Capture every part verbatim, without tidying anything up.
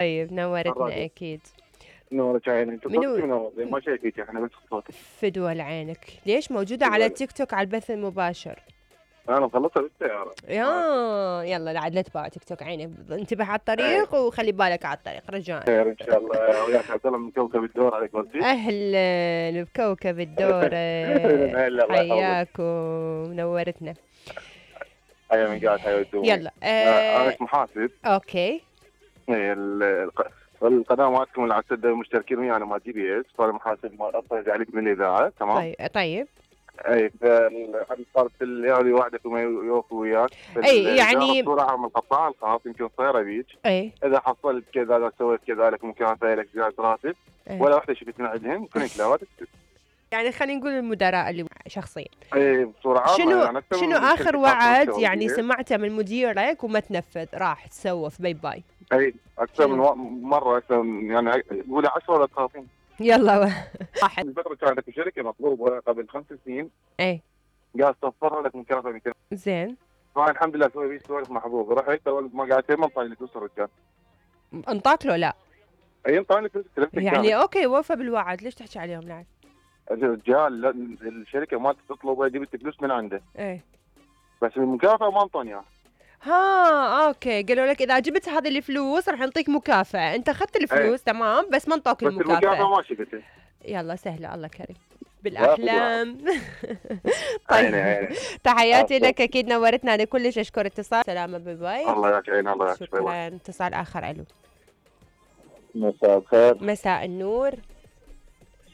طيب نورتنا الراديو. اكيد. نورك عيني، انت منو صوتك منور زين ما شايفيك احنا بس صوتك. فدوى لعينك. ليش موجودة على فدوى. التيك توك على البث المباشر؟ انا مخلصها بالسيارة. يا يلا عاد لا تباع تيك توك عيني، انتبه على ايه الطريق وخلي بالك على الطريق رجاء. خير ان شاء الله. وياك عبد الله من كوكب الدور عليك قلتي. اهلا بكوكب الدور. هلا الله يحفظك. حياكم نورتنا. حيا من قاعد حيا الدوم. يلا آه، انا آه اسمي محاسب. اوكي. إيه، ال- الق- القناه مالتكم اللي على السده مشتركين ويانا مع جي بي اس، فانا محاسب ما اطلع عليك من الاذاعه تمام. طيب طيب اي صارت الليالي واحده وما يوفي وياك. اي يعني صورة من القطاع الخاص يمكن صايره بيك. اي اذا حصلت كذا اذا سويت كذلك ممكن اسوي لك زياده راتب. أي. ولا واحده شفت من عندهم كنت لا تكتب. يعني خلينا نقول المدراء اللي شخصيا. اي بصوره عامه شنو يعني أكثر شنو من اخر شركة وعد خاصة يعني وكذا. سمعته من مديرك وما تنفذ راح تسوى في باي باي؟ اي اكثر من شنو؟ و- مره اكثر من- يعني قولي عشرة ولا ثلاثين. يلا واحد. الفتره كانت شركه مطلوبه قبل خمس سنين اي قال صفرها لك مكافاه مئتين. زين فانا الحمد لله اسوي بيه سوالف محظوظ. رحت اول ما قعدت ما طلع لي فلوس الرجال. انطاك له لا؟ اي طلع لي فلوس ثلاث يعني اوكي وفى بالوعد ليش تحكي عليهم العكس؟ الرجال لا، الشركه ما تطلب جبت فلوس من عنده ايه بس المكافاه ما انطوني اياها. ها اوكي قالوا لك اذا جبت هذه الفلوس راح نعطيك مكافأة، انت اخذت الفلوس تمام بس ما انطوك بس المكافاه المكافأة. ما شفتها. يلا سهلة الله كريم بالاحلام. عيني طيب عيني. تحياتي عفواً. لك اكيد نورتنا. انا كلش اشكر اتصال. سلامة باي باي. الله ياك عيني الله ياك. شكرا. اتصال اخر الو. مساء الخير. مساء النور.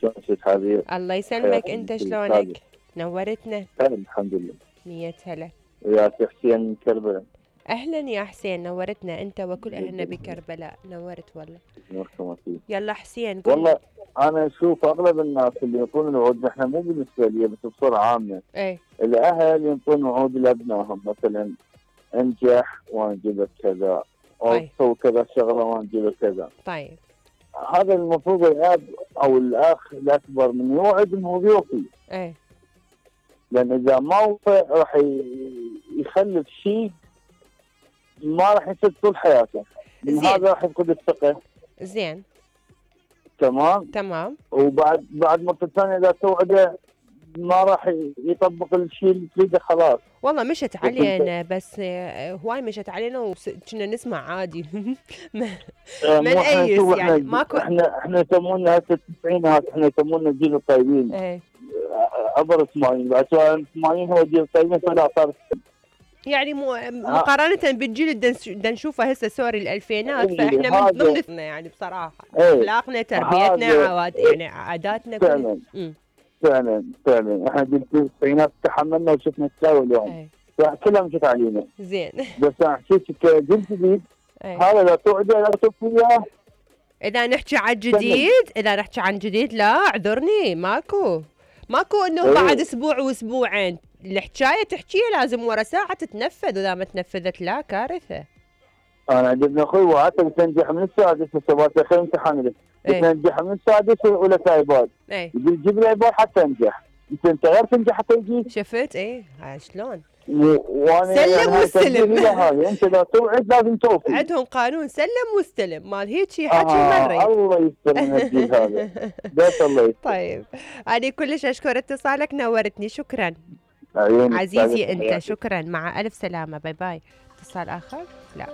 شلونك حبيبي؟ الله يسلمك انت شلونك؟ نورتنا. الحمد لله. مية هلا. وياك حسين من كربلاء. اهلا يا حسين نورتنا انت وكل اهلنا بكربلاء نورت والله. نوركم اكيد. يلا حسين قول. والله انا اشوف اغلب الناس اللي يعطون الوعود، احنا مو بالنسبه لي بس بصوره عامه، ايه الاهل يعطون وعود لابنائهم مثلا انجح وانجب لك كذا او طيب. سوي كذا شغله وانجب لك كذا. طيب هذا المفروض الاب او الاخ الاكبر من يوعد انه بيوفي، ايه لان اذا ما وفى راح ي- يخلف شيء ما راح يصير طول حياته، من زين. هذا راح يفقد الثقه. زين تمام. تمام. وبعد بعد مرة ثانية إذا توعده ما راح يطبق الشيء اللي تريده خلاص. والله مشت علينا بس آه، هواي مشت علينا وكنا نسمع عادي. ما آه، ما مو إحنا نأيس نشوف يعني، إحنا- ماكو- احنا احنا يسمونا هسه التسعينات، احنا يسمونا الجيل الطيبين. ايه آه، عبر الثمانين، بعد سؤال الثمانين هو الجيل الطيبين فلا صار. يعني مو مقارنة بالجيل اللي دنس- دنشوفه هسه سوري الألفينات إيه، فاحنا من هذا- ضمن يعني بصراحة إيه، أخلاقنا تربيتنا هذا- عواد يعني عاداتنا كل. فعلا مم. فعلا فعلا احنا جيل التسعينات تحملنا وشفنا التساوي اليوم، ايه فكلها مشت علينا. زين. بس انا حسيت كجيل جديد ايه. هذا لا توعده لا توفي اياه. إذا نحكي عن جديد إذا نحكي عن جديد لا اعذرني ماكو ماكو إنه إيه. بعد أسبوع وأسبوعين الحكاية تحكيها لازم ورا ساعة تتنفذ وإذا ما تنفذت لا كارثة. انا عجبني اخوي وعدته بتنجح من السادس السبات اخر امتحان له إيه. بتنجح من السادس ولا ايباد، ايه يقول جيب لي ايباد حتى انجح، انت انت غير تنجح حتى يجي. شفت ايه ها شلون و- وانا سلم يعني هاي واستلم. تنبيه إلى هاي، انت لا توعد لازم توفي. عندهم قانون سلم واستلم مال هيجي حكي آه مرة. الله يستر من الجيل هذا بس الله يستر. طيب أنا كلش أشكر اتصالك نورتني شكرا عيوني عزيزي سعادة أنت حياتك. شكرا مع ألف سلامة باي باي. اتصال آخر لا